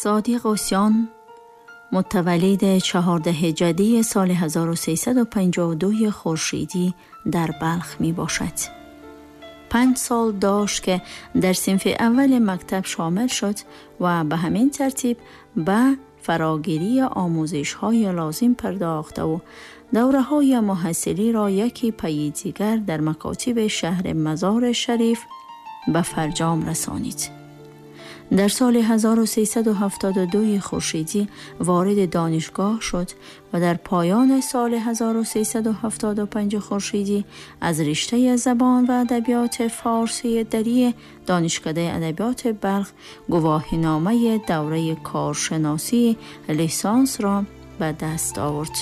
Содиқ Усён мутаваллиди 14 ҷадии соли 1352 хуршедӣ дар Балх мебошад. 5 сол дошт, ки дар синфи аввали мактаб шомил шуд ва ба ҳамин тартиб ба фарогирии омӯзишҳои лозим пардохтаву давраҳои муҳассилиро яке пайи дигар дар макотиби шаҳри Мазори Шариф ба фарҷом расонид. Дар соли 1372 хуршедӣ вориди донишгоҳ шуд ва дар поёни соли 1375 хуршедӣ аз риштаи забон ва адабиёти форсии дарии Донишкадаи адабиёти Балх гувоҳиномаи давраи коршиносии лисансро ба даст овард.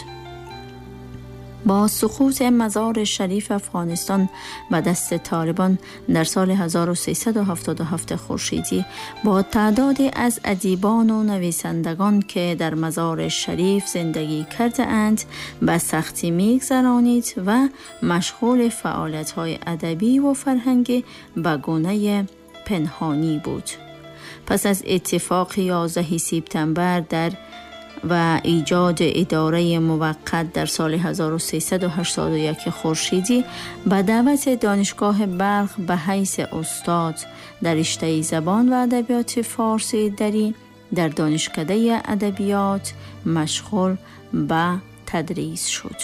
Бо суқути Мазори Шариф Афғонистон ба дасти Толибон дар соли 1377 хуршедӣ бо теъдоде аз адибону нависандагон, ки дар Мазори Шариф зиндагӣ кардаанд, ба сахтӣ мегзаронид ва машғули фаъолиятҳои адабӣ ву фарҳангӣ ба гунаи пинҳонӣ буд. Пас аз иттифоқи 11 септембр дар ва эҷоди идораи муваққат дар соли 1381 хуршедӣ ба даъвати донишгоҳи Балх ба ҳайси устод дар риштаи забон ва адабиёти форсии дарӣ дар Донишкадаи адабиёт машғул ба тадрис шуд.